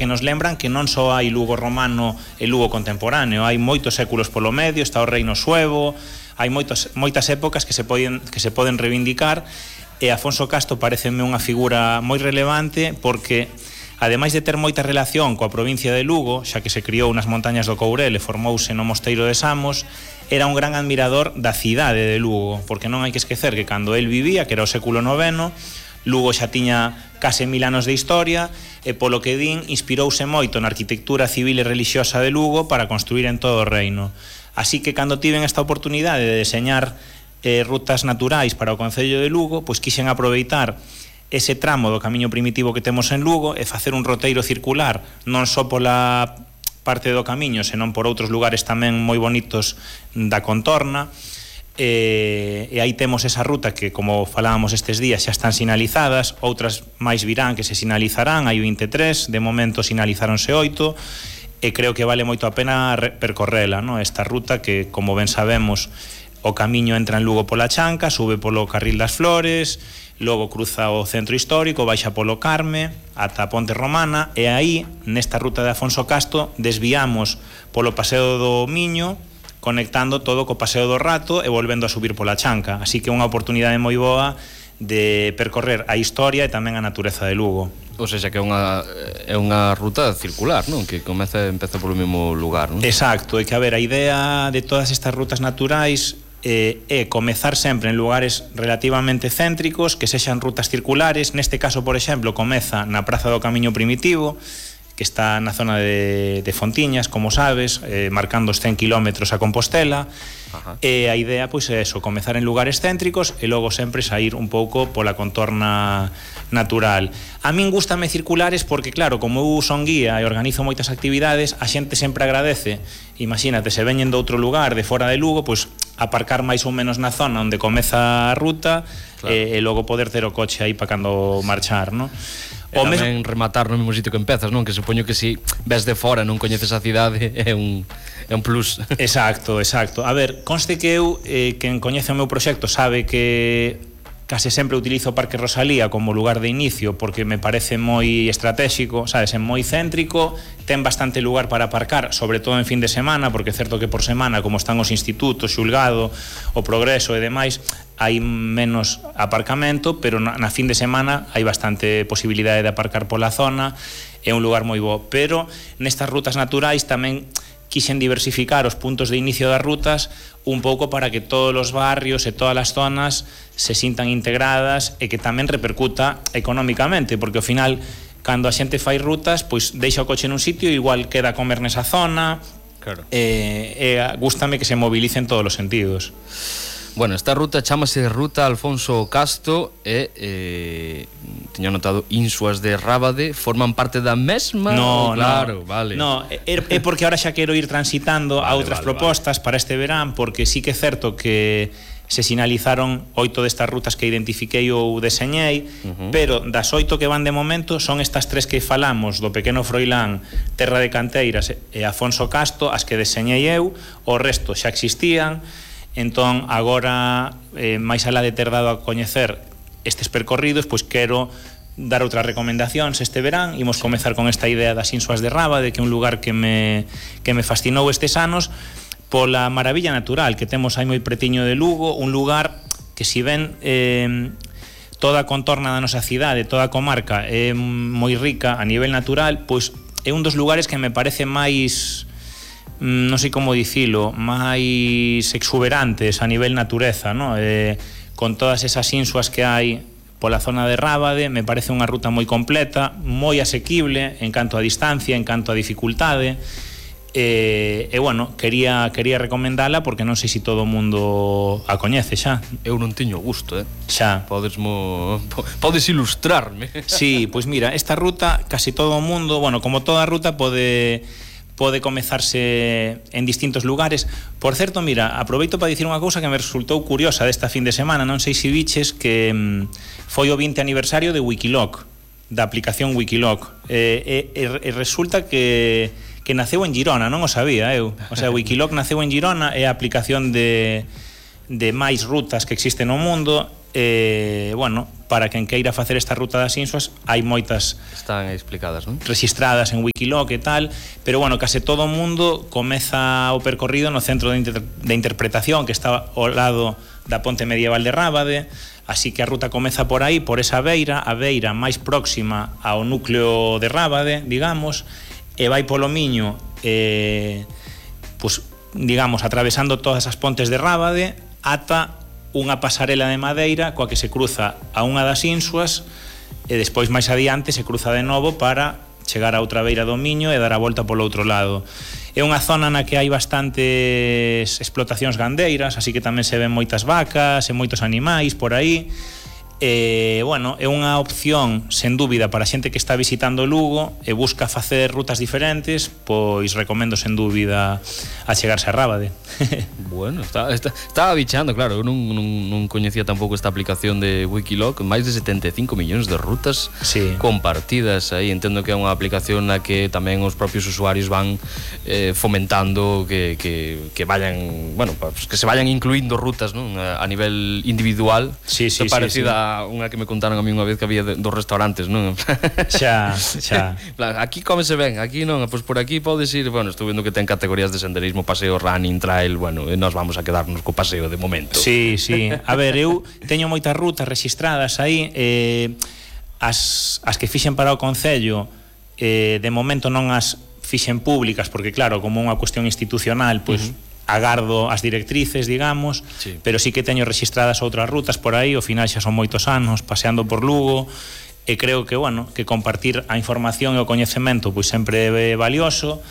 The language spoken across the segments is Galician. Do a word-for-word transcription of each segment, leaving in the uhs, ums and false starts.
que nos lembran que non só hai Lugo romano e Lugo contemporáneo, hai moitos séculos polo medio, está o reino suevo, hai moitas, moitas épocas que se poden, que se poden reivindicar, e Afonso Casto pareceme unha figura moi relevante porque, ademais de ter moita relación coa provincia de Lugo, xa que se criou nas montañas do Courel e formouse no Mosteiro de Samos, era un gran admirador da cidade de Lugo, porque non hai que esquecer que cando el vivía, que era o século noveno, Lugo xa tiña case mil anos de historia e, polo que din, inspirouse moito na arquitectura civil e religiosa de Lugo para construir en todo o reino. Así que, cando tiven esta oportunidade de deseñar eh, rutas naturais para o Concello de Lugo, pois quixen aproveitar ese tramo do camiño primitivo que temos en Lugo e facer un roteiro circular, non só pola parte do camiño, senón por outros lugares tamén moi bonitos da contorna. E, e aí temos esa ruta que, como falábamos estes días, xa están sinalizadas, outras máis virán que se sinalizarán, hai vinte e tres, de momento sinalizáronse oito, e creo que vale moito a pena percorrela, no? Esta ruta que, como ben sabemos, o camiño entra en Lugo pola Chanca, sube polo Carril das Flores, logo cruza o centro histórico, baixa polo Carme ata a Ponte Romana, e aí, nesta ruta de Afonso Casto, desviamos polo Paseo do Miño, conectando todo co Paseo do Rato e volvendo a subir pola Chanca. Así que é unha oportunidade moi boa de percorrer a historia e tamén a natureza de Lugo. Ou seja, que é unha, é unha ruta circular, non? Que comeza e empeza polo mesmo lugar, non? Exacto, é que, a ver, a idea de todas estas rutas naturais eh, é comezar sempre en lugares relativamente céntricos, que sexan rutas circulares. Neste caso, por exemplo, comeza na Praza do Camiño Primitivo, que está na zona de, de Fontiñas, como sabes, eh, marcando os cen kilómetros a Compostela. Ajá. E a idea, pois, é eso, comezar en lugares céntricos e logo sempre sair un pouco pola contorna natural. A min gústame circulares porque, claro, como eu son guía e organizo moitas actividades, a xente sempre agradece. Imagínate, se veñen de outro lugar, de fora de Lugo, pois aparcar máis ou menos na zona onde comeza a ruta, claro. e, e logo poder ter o coche aí para cando marchar, non? E o tamén mes... rematar no mesmo sitio que empezas, non? Que supoño que si ves de fora non coñeces a cidade é un, é un plus. Exacto, exacto. A ver, conste que eu, eh, quen coñece o meu proxecto sabe que case sempre utilizo o Parque Rosalía como lugar de inicio porque me parece moi estratégico, sabes, é moi céntrico, ten bastante lugar para aparcar, sobre todo en fin de semana, porque é certo que por semana, como están os institutos, Xulgado, o Progreso e demais, hai menos aparcamento, pero na, na fin de semana hai bastante posibilidade de aparcar pola zona, é un lugar moi bo. Pero nestas rutas naturais tamén quixen diversificar os puntos de inicio das rutas un pouco para que todos os barrios e todas as zonas se sintan integradas e que tamén repercuta económicamente, porque ao final, cando a xente fai rutas, pois deixa o coche nun sitio e igual queda a comer nesa zona. Claro. E, e gústame que se movilice en todos os sentidos. Bueno, esta ruta chamase Ruta Alfonso Casto e eh, teño notado Insuas de Rábade forman parte da mesma? No, claro, no, vale. No, é, é porque ahora xa quero ir transitando vale, a outras vale, propostas vale. Para este verán, porque sí que é certo que se sinalizaron oito destas rutas que identifiquei ou deseñei, uh-huh. pero das oito que van de momento son estas tres que falamos, do Pequeno Froilán, Terra de Canteiras e Afonso Casto, as que deseñei eu, o resto xa existían. Entón, agora, eh, máis alá de ter dado a coñecer estes percorridos, pois quero dar outras recomendacións este verán. Imos comezar con esta idea das Insuas de Rábade, que é un lugar que me, que me fascinou estes anos pola maravilla natural que temos aí moi pretiño de Lugo, un lugar que, si ben eh, toda a contorna da nosa cidade, toda a comarca é moi rica a nivel natural, pois é un dos lugares que me parece máis, non sei como dicilo, máis exuberantes a nivel natureza, ¿no? Eh, con todas esas insuas que hai pola zona de Rábade, me parece unha ruta moi completa, moi asequible en canto a distancia, en canto a dificultade. E, e bueno, quería, quería recomendala porque non sei se todo o mundo a coñece xa. Eu non teño gusto, eh? Xa. Podes, mo... Podes ilustrarme. Sí, pois mira, esta ruta, casi todo o mundo, bueno, como toda ruta, pode... pode comezarse en distintos lugares. Por certo, mira, aproveito para dicir unha cousa que me resultou curiosa desta fin de semana. Non sei se viches que mm, foi o vinte aniversario de Wikiloc, da aplicación Wikiloc. E, e, e resulta que, que naceu en Girona, non o sabía eu. O sea, Wikiloc naceu en Girona, é a aplicación de, de máis rutas que existe no mundo. E, bueno, para quen queira facer esta ruta das Insuas, hai moitas están explicadas, non? Registradas en Wikiloc e tal, pero bueno, case todo o mundo comeza o percorrido no centro de, inter de interpretación que está ao lado da ponte medieval de Rábade, así que a ruta comeza por aí, por esa beira, a beira máis próxima ao núcleo de Rábade, digamos, e vai polo Miño, eh, pues, digamos, atravesando todas as pontes de Rábade ata unha pasarela de madeira coa que se cruza a unha das Insuas e despois máis adiante se cruza de novo para chegar a outra beira do Miño e dar a volta polo outro lado. É unha zona na que hai bastantes explotacións gandeiras, así que tamén se ven moitas vacas e moitos animais por aí. E, bueno, é unha opción sen dúbida para a xente que está visitando Lugo e busca facer rutas diferentes, pois recomendo sen dúbida a chegarse a Rábade. Bueno, está, está, estaba bichando, claro, eu non, non, non coñecía tampouco esta aplicación de Wikiloc, máis de setenta e cinco millóns de rutas sí. compartidas aí. Entendo que é unha aplicación na que tamén os propios usuarios van eh, fomentando que, que, que vayan, bueno, pues que se vayan incluindo rutas, non? A nivel individual. Sí, sí, parecida sí, sí. a unha que me contaron a mí unha vez que había dos restaurantes, non? Xa, xa. Aquí cómese ben, aquí non, pois por aquí podes ir, bueno, estou vendo que ten categorías de senderismo, paseo, running, trail, bueno, e nós vamos a quedarnos co paseo de momento. Sí, sí. A ver, eu teño moitas rutas registradas aí, eh, as, as que fixen para o Concello, eh, de momento non as fixen públicas, porque claro, como unha cuestión institucional, pois... Uh-huh. agardo as directrices, digamos, sí. Pero sí que teño registradas outras rutas por aí, ao final xa son moitos anos paseando por Lugo, e creo que, bueno, que compartir a información e o coñecemento pois sempre é valioso.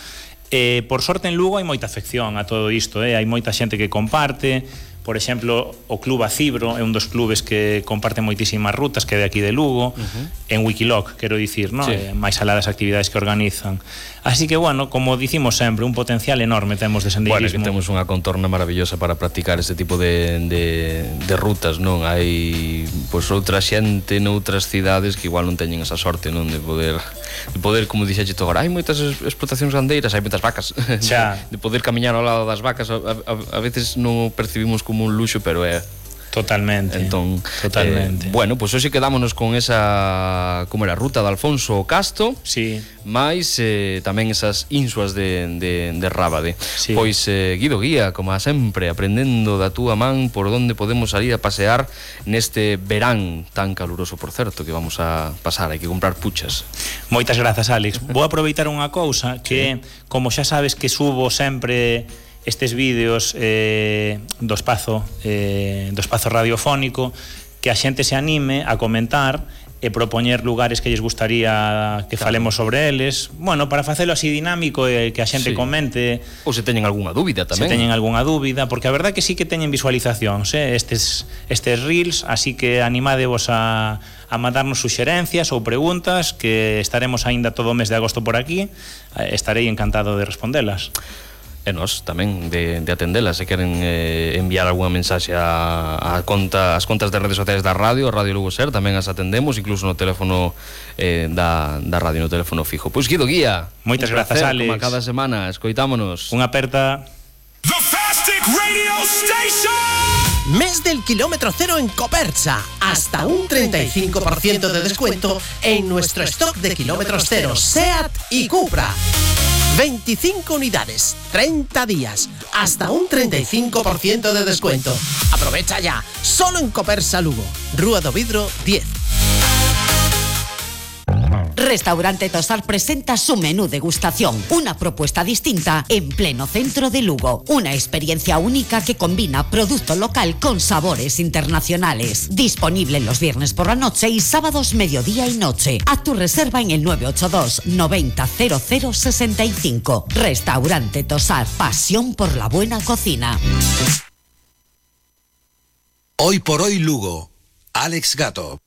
E, por sorte en Lugo hai moita afección a todo isto, eh? Hai moita xente que comparte. Por exemplo, o Club Acibro é un dos clubes que comparte moitísimas rutas, que é de aquí de Lugo, uh-huh. En Wikiloc, quero dicir, ¿no? Sí. Eh, máis alá das actividades que organizan. Así que, bueno, como dicimos sempre, un potencial enorme temos de senderismo. Bueno, que temos unha contorna maravillosa para practicar este tipo de, de, de rutas, non? Hai, pois, outra xente noutras cidades que igual non teñen esa sorte, non? De poder, de poder, como dixeche tú agora, hai moitas explotacións gandeiras, hai moitas vacas. Xa. De, de poder camiñar ao lado das vacas, a, a, a veces non percibimos como un luxo, pero é totalmente. Entón, totalmente. Eh, bueno, pois pues hoxe quedámonos con esa, como era, ruta de Alfonso Casto. Sí. Mais eh, tamén esas Insuas de, de, de Rábade. Sí. Pois eh, Guido Guía, como sempre, aprendendo da túa man por onde podemos salir a pasear neste verán tan caluroso, por certo, que vamos a pasar, hai que comprar puchas. Moitas grazas, Alex. Vou aproveitar unha cousa que, sí. Como xa sabes que subo sempre estes vídeos eh, do espazo eh, do espazo radiofónico, que a xente se anime a comentar e propoñer lugares que lles gustaría que claro. Falemos sobre eles, bueno, para facelo así dinámico e que a xente sí. Comente, ou se teñen algunha dúbida tamén. Se teñen algunha dúbida, porque a verdad que sí que teñen visualizacións, eh, estes estes reels, así que animadevos a a mandarnos suxerencias ou preguntas, que estaremos aínda todo o mes de agosto por aquí, estarei encantado de respondelas. E nós tamén de, de atendelas. Se queren eh, enviar algunha mensaxe a, a conta, as contas de redes sociais da radio, a Radio Lugo Ser, tamén as atendemos, incluso no teléfono eh, da, da radio, no teléfono fijo. Pois Guido Guía, moitas grazas, Alex. Como a cada semana, escoitámonos. Unha aperta. The Fastic Radio Station. Mes del kilómetro cero en Copersa. Hasta un treinta y cinco por ciento de descuento en nuestro stock de kilómetros cero SEAT y Cupra. veinticinco unidades, treinta días, hasta un treinta y cinco por ciento de descuento. Aprovecha ya, solo en Copersa Lugo, Rúa do Vidro diez. Restaurante Tosar presenta su menú degustación, una propuesta distinta en pleno centro de Lugo. Una experiencia única que combina producto local con sabores internacionales. Disponible los viernes por la noche y sábados mediodía y noche. Haz tu reserva en el nueve ocho dos noventa cero cero sesenta y cinco. Restaurante Tosar, pasión por la buena cocina. Hoy por hoy Lugo, Alex Gato.